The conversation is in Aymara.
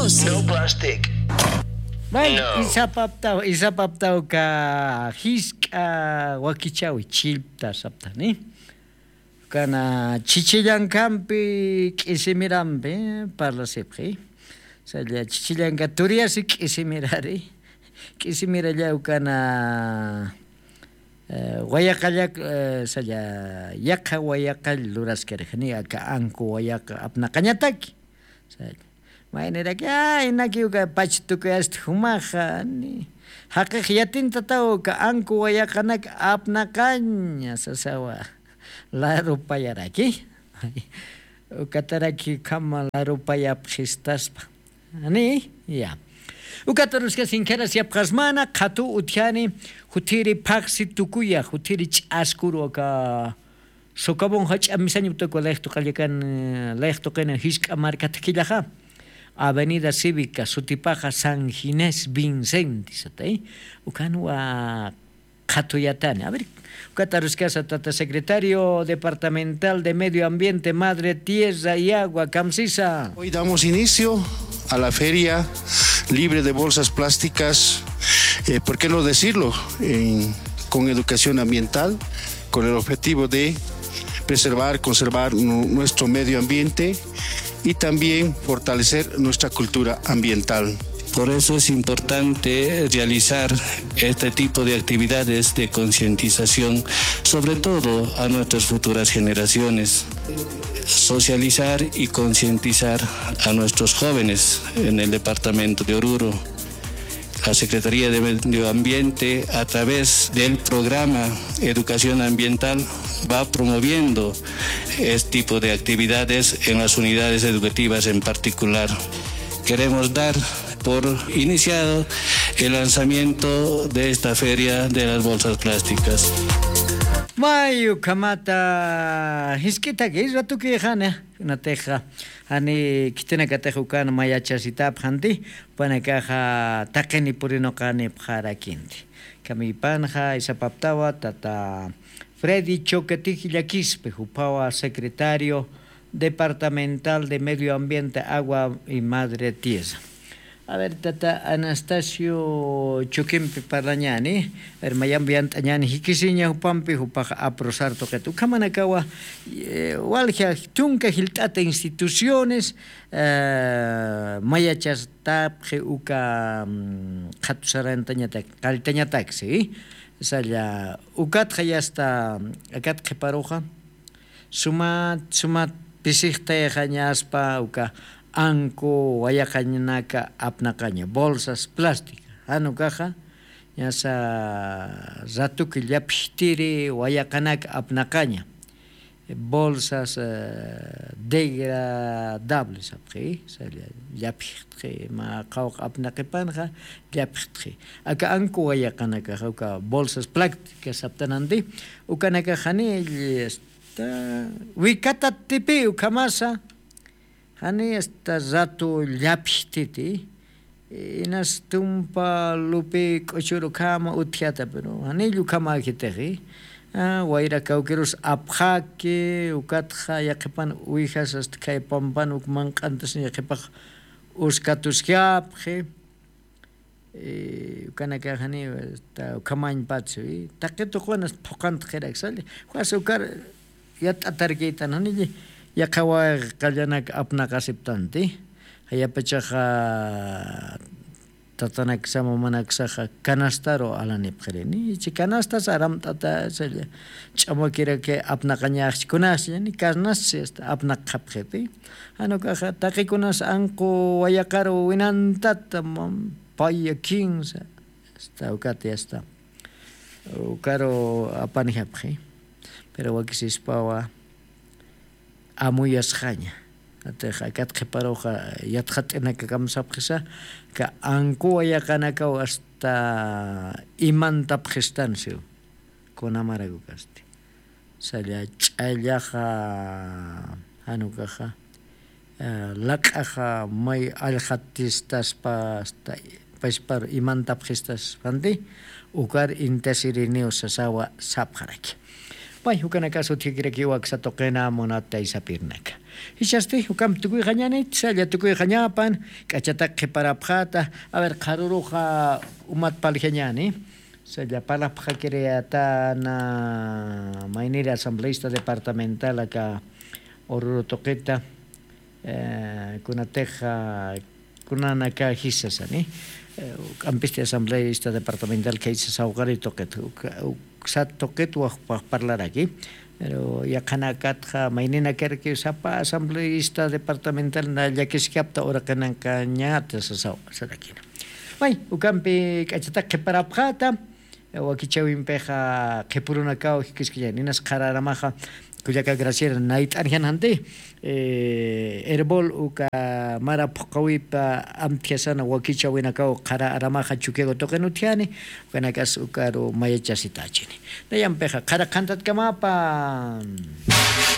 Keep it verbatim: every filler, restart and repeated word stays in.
No plastic. Bueno, isapaptaw isapaptaw ka jisk'a wakichawi chillpta saptani. Kana chichillankampi k'isimirampi parlasipxi. Salla chichillanka turiyasi k'isimirari. K'isimiralla ukana wayaqallak salla yaqha wayaqall luraskari jani aka anku wayaqa apnaqañataki. Mayniraki ay nakiw ka pach tukuyasti jumaxa ni jaqix yatintataw ka anku wayaqanak apnaqaña sasawa. Larupayaraki ukataraki ukhama larupayapxistaspa. Ni ya. Ukataruska sinkhirasiyapxasmana qhatu utjani juthiri phaqsi tukuya juthiri ch'askuru aka socavón jach'a misaña utakwa layjtuqallakan layjtuqina jisk'a marka thakillaxa. Avenida cívica sutipaxa san ginés vincenti satay. Ukhanwa qhatuyatani a ver. Ukataruskasa tata secretario departamental de medio ambiente madre tierra y agua kamsisa. Hoy damos inicio a la feria libre de bolsas plásticas, por qué no decirlo, con educación ambiental, con el objetivo de preservar, conservar nuestro medio ambiente y también fortalecer nuestra cultura ambiental. Por eso es importante realizar este tipo de actividades de concientización, sobre todo a nuestras futuras generaciones. Socializar y concientizar a nuestros jóvenes en el departamento de Oruro. La Secretaría de Medio Ambiente, a través del programa Educación Ambiental, va promoviendo este tipo de actividades en las unidades educativas en particular. Queremos dar por iniciado el lanzamiento de esta feria de las bolsas plásticas. May ukhamata jisk'itaki ratuki jana. Kunatixa jani khitinakatix ukan mayachasitapxanti. Panakaxa taqini purinuqanipxarakinti. Kamipanxa isapaptawa tata Freddy Choquetij llakispi jupawa secretario departamental de medio ambiente agua y madre tierra. A ver tata anastasio chukimpi parlañani. A ver mayambi yant'añani jikisiña jupampi jupaxa aprosar tuqita ukhamanakawa walja tunka jilt'ata instituciones mayachastapxi uka qhatusarantañatak qalltañataksi. Salla ukatxa yasta akat qhiparuxa sumat sumat pisixtayxañaspa uka anku wayaqañanaka apnaqaña bolsas plástica jan ukaxa ñasa ratuki llapjtiri wayaqanaka apnaqaña. Bolsas degradable sapxi llapjtxi ma qawq apnaqipanxa llapjtxi. Aka anku wayaqanakaxa uka bolsas plásticas saptananti ukanakax janiy wikatatipi ukhamasa janiy asta ratu llapjtiti. Inas tumpa lupi k'uchur ukhama utjata pero janiy ukhamäkitixi. Wayra kawkirus apxaki ukatxa yaqhipan uwijas asta khay pampan uk manq'antas yaqhipax uskatuskapxi. Ukanakaxani ukhamañpatsi taqi tuqwan asta phuqhantxiraksalla. Juas ukar yat'atarkiytan jani yaqha wayqa qallanak apnaqasiptanti. Jayapachaxa tatanaksa mamanaksaxa canastaru alanipxirini chi canastas aramt'ata ch'amakiraki apnaqañaxchi kunaschi ni canastsi asta apnaqxapxiti. Jan ukaxa taqikunas anqu wayaqaru winantata paya kinsa asta ukati asta ukaru apanijapxi. Pero wakisispawa amuyasxaña. Atix akat qhiparuxa yatxat'inakakamsapxisa ka ankuwa yaqanakaw asta imantapxistan siw. Kunamarakukasti salla ch'allaxa janukaxa laq'axa may allxatistaspa asta pachparu imantapxistaspanti ukar intasiriniw sasawa sapxaraki. Pay ukanakasu thikirakiwa aksatuqina munataysapirnaka. Jichhasti ukampi tukuyxañänit salla tukuyxañapan. K'achatak qhiparapxata. A ver qharuruxa umat paljañäni. Salla parlapxakiriyatana mayniri asambleista departamental aka ururu tuqita. Kunatixa kunanaka jisasani. K'ampisti asambleista departamental khaysa sawqari tuqit uksat tuqit wajpax parlaraki. Pero yaqhanakatxa mayninakarki sapa asambleista departamental na llakiskapta uraqinankañata sasaw sarakina. May ukampi k'achatak qhiparapxata. Wakichawimpixa qhipurunakaw jikiskiñan inas qhara aramaxa kullaka graciera nayt'an jan janti. Herbol uka mara phuqawipa amtjasana wakichawinakaw qhara aramaxa chukiagu tuqin utjani. Ukanakas ukaru mayachasitachini. Nayampixa qhara qhantatkamapa.